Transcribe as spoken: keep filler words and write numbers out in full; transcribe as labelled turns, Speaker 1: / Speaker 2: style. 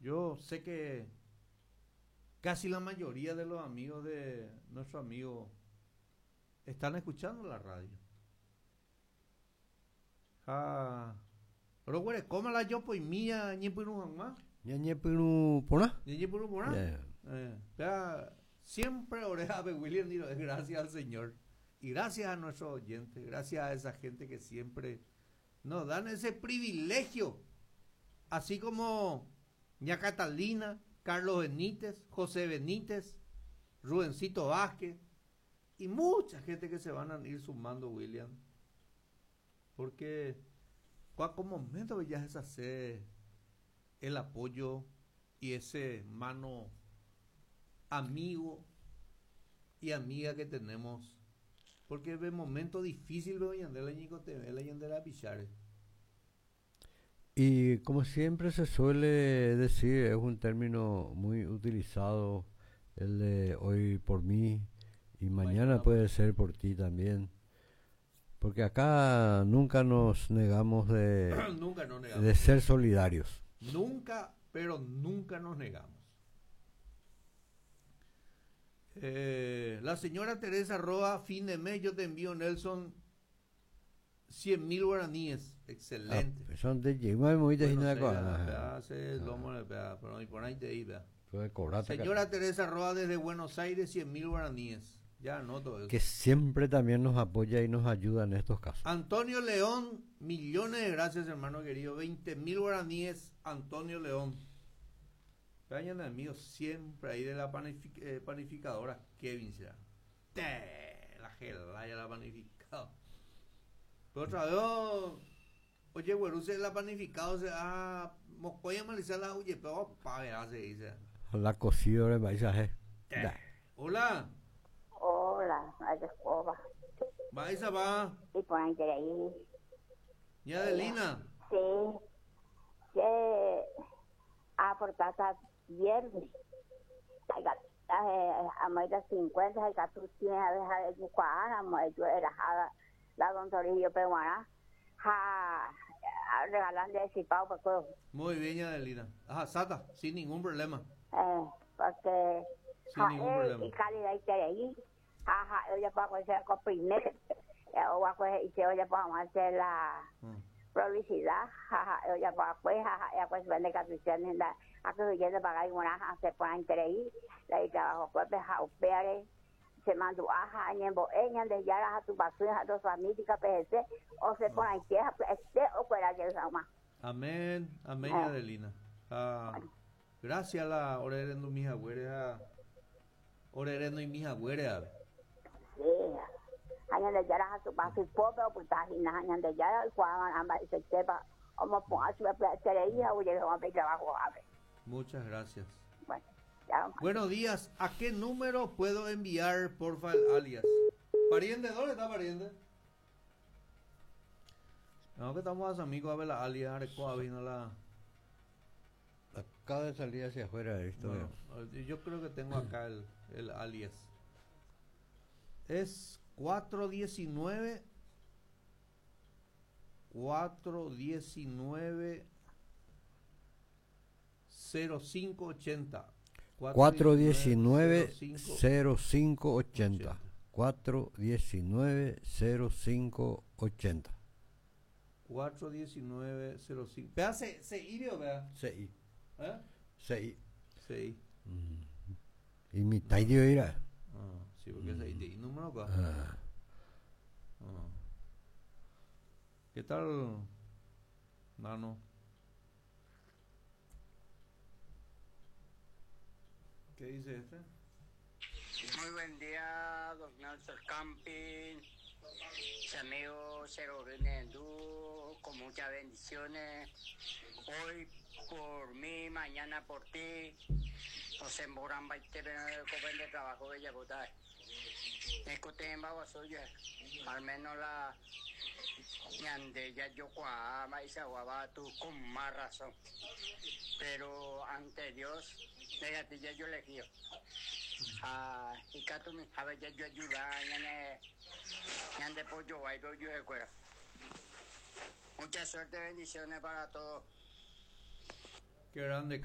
Speaker 1: Yo sé que casi la mayoría de los amigos de nuestro amigo están escuchando la radio. Ja, roguerekóma la jopoimía ñepyrũ hag̃ua.
Speaker 2: Ñañepyrũ porã.
Speaker 1: Ñañepyrũ porã.
Speaker 2: Yeah.
Speaker 1: Eh, ya, siempre oreja de William digo, gracias al Señor y gracias a nuestros oyentes, gracias a esa gente que siempre nos dan ese privilegio, así como ña Catalina, Carlos Benítez, José Benítez, Rubencito Vázquez y mucha gente que se van a ir sumando, William, porque cuál momento ya es hacer el apoyo y ese mano amigo y amiga que tenemos, porque de momento difícil veo la pichare.
Speaker 2: Y como siempre se suele decir, es un término muy utilizado, el de hoy por mí y mañana,
Speaker 1: Mañana
Speaker 2: puede ser por ti también. Porque acá nunca nos negamos de,
Speaker 1: Nunca nos negamos.
Speaker 2: de ser solidarios.
Speaker 1: Nunca, pero nunca nos negamos. Eh, la señora Teresa Roa, fin de mes, yo te envío, Nelson, cien mil guaraníes. Excelente.
Speaker 2: Ah, son de llegó a muy de
Speaker 1: Bueno,
Speaker 2: Gina
Speaker 1: sé,
Speaker 2: Coa.
Speaker 1: ya,
Speaker 2: Ajá.
Speaker 1: ya, sé, lomo de pea, pero ni por ahí te iba.
Speaker 2: Puede cobrarte
Speaker 1: Señora
Speaker 2: acá.
Speaker 1: Teresa Roa desde Buenos Aires, cien mil guaraníes. Ya anoto eso.
Speaker 2: Que siempre también nos apoya y nos ayuda en estos casos.
Speaker 1: Antonio León, millones de gracias, hermano querido. veinte mil guaraníes, Antonio León. Vayan amigos siempre ahí de la panific-, eh, panificadora Kevin será. Te, la gelaya la panificado. Pero otra vez, oye, güero, se la panificado, se, ah, mocoya malizar la huye, pero pa, verá, se dice.
Speaker 2: La cocida de maíz, eh.
Speaker 1: Te.
Speaker 2: Da.
Speaker 1: Hola.
Speaker 3: Hola, ay, de escoba.
Speaker 1: Va, esa va.
Speaker 3: Y por ahí de ahí.
Speaker 1: ¿Y Adelina?
Speaker 3: Sí. Sí. Ah, por casa viernes. Ay, ga-, eh, a más de cincuenta, ay, gato, tiene a dejar de buscar, a más de era jada, la don Torrijos, pero bueno, ja, a regalarle ese pavo, pues, todo.
Speaker 1: Muy bien, Adelina. Ajá, Sata, sin ningún problema.
Speaker 3: Eh, porque
Speaker 1: Sin
Speaker 3: ja,
Speaker 1: ningún
Speaker 3: eh,
Speaker 1: problema.
Speaker 3: y calidad y ahí. Ajá, yo ya puedo hacer con primero, eh, o a coger, y se oye, pues, vamos a hacer la
Speaker 1: Mm.
Speaker 3: publicidad, jaja, yo ya puedo, pues, jaja, ya pues, vende caprichones, la, a que huyendo pagar una, ja, se puede entre ahí, la y trabajo, pues, ja, opere, se mandó, ajá, en bo, en de ya, a tu basura, a tu familia, P G C, o se pone en tierra, pues, este, o fuera que es más.
Speaker 1: Amén, amén,
Speaker 3: Ah.
Speaker 1: Adelina. Ah, gracias a la orerendo mis agüeres, a orerendo y mis agüeres, a ver.
Speaker 3: Sí. Año de yara a su paso y pobre, pues, está ahí, na, año de yara, y cuando amba, y se chepa, como ponga su propia teoría, oye, le vamos a pedir trabajo, a ver.
Speaker 1: Muchas gracias.
Speaker 3: Bueno, ya.
Speaker 1: Buenos días. ¿A qué número puedo enviar, porfa, el alias? Pariente, ¿dónde está pariente? No, que estamos a amigos a ver la alias, arecoa, vino la...
Speaker 2: Acaba de salir hacia afuera de esto.
Speaker 1: Bueno, yo creo que tengo acá el, el alias. Es cuatro diecinueve, cuatro diecinueve, cero cinco ochenta.
Speaker 2: Cuatro diecinueve, cero cinco ochenta. Cuatro diecinueve, cero cinco ochenta.
Speaker 1: Cuatro diecinueve, cero cinco. Vea, se, se I, o vea.
Speaker 2: Se I.
Speaker 1: ¿Eh?
Speaker 2: Se I.
Speaker 1: Se I.
Speaker 2: Mm. Y mi tayo era.
Speaker 1: Ah, sí, porque es ahí de número acá.
Speaker 2: Ah.
Speaker 1: Ah. ¿Qué tal, Nano? ¿Qué dice este?
Speaker 4: Muy buen día, don Nelson Camping, su amigo Cero Brindendú, con muchas bendiciones. Hoy por mí, mañana por ti. Nos emboran baite el joven de trabajo de Yabotá. Escuchen, soy al menos la ñande ya yo cuama y se aguaba tú con más razón. Pero ante Dios, de ya yo le guío. Ah, y cato mi, a ver, ya yo ayuda, ñane, ñande pollo, ahí voy yo de cuera. Mucha suerte, bendiciones para todos.
Speaker 1: Qué grande.